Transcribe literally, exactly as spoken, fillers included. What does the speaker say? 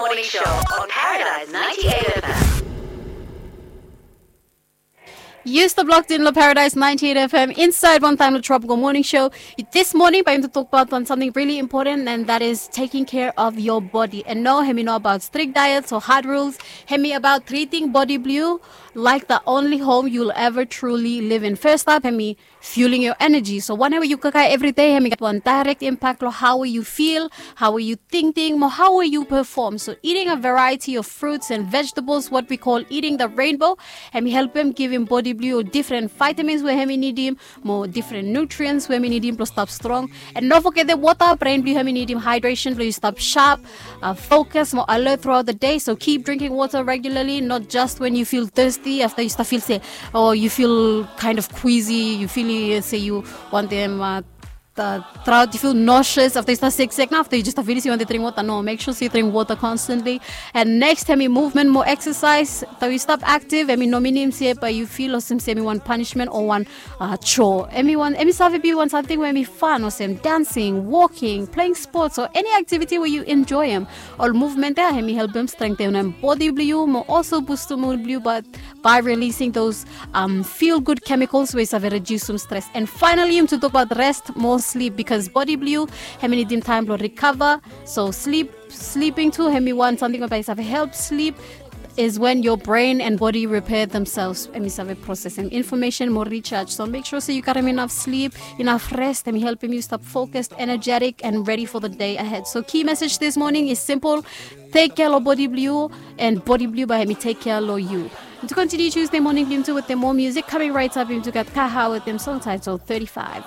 Morning Show on Paradise ninety-eight F M. Yu stap locked in lo Paradise ninety-eight F M insaed wantaem lo Tropical Morning Show. This morning bae yumi tokbaot wan samting really important, and that is taking care of your body. And no, hemi no abaot strict diets o hard rules. Hemi abaot treating body blue like the only home you'll ever truly live in. First up, hemi fueling your energy. So wanem we yu kakae evri dei, hemi gat wan direct impact lo hao we yu feel, hao we yu tingting, mo hao we yu perform. So eating a variety of fruits and vegetables, what we call eating the rainbow, hemi helpem givim bodi blue difren vitamins we hemi nidim, mo difren nutrients we hemi nidim blo stap strong. And no fogetem wota, brain blue hemi nidim hydration blo yu stap sharp, uh, focus, mo alert throughout the day. So keep drinking water regularly, not just when you feel thirsty. Afta yu stap feel se, o yu feel kind of queasy, yu feel se yu wantem, uh, uh, throat, yu feel nauseous, afta yu stap seksek, nao afta yu jes stap feel se yu wantem dring wota. No, make sure se yu dring wota constantly. And next, hemi movement mo exercise. Taem yu stap active, hemi no minim se bae yu feel olsem se hemi wan punishment o wan, uh, chore. Hemi wan, hemi save be wan samting we hemi fan, olsem dancing, walking, playing sports, o eni activity we yu enjoem. Ol movement ia hemi helpem strengthenem bodi blue yu, mo also boostem mood blue yu, but by releasing those, um, feel good chemicals we save reducem stress. And finally, yumi tu tokbaot rest mo sleep, because bodi blue yu hemi nidim taem blo recover. So sleep, sleeping tu hemi wan samting we bae save help. Sleep is when your brain and body repair themselves. Hemi save processem information mo recharge. So make sure se yu karem inaf sleep, inaf rest. Hemi helpem yu stap focused, energetic, and ready for the day ahead. So key message this morning is simple. Tek kea lo bodi blue yu, and bodi blue yu bae hemi tek kea lo yu. And to continue Tuesday morning blue yu tu wetem moa music, coming right up yu tu gat Kaha wetem song title thirty-five.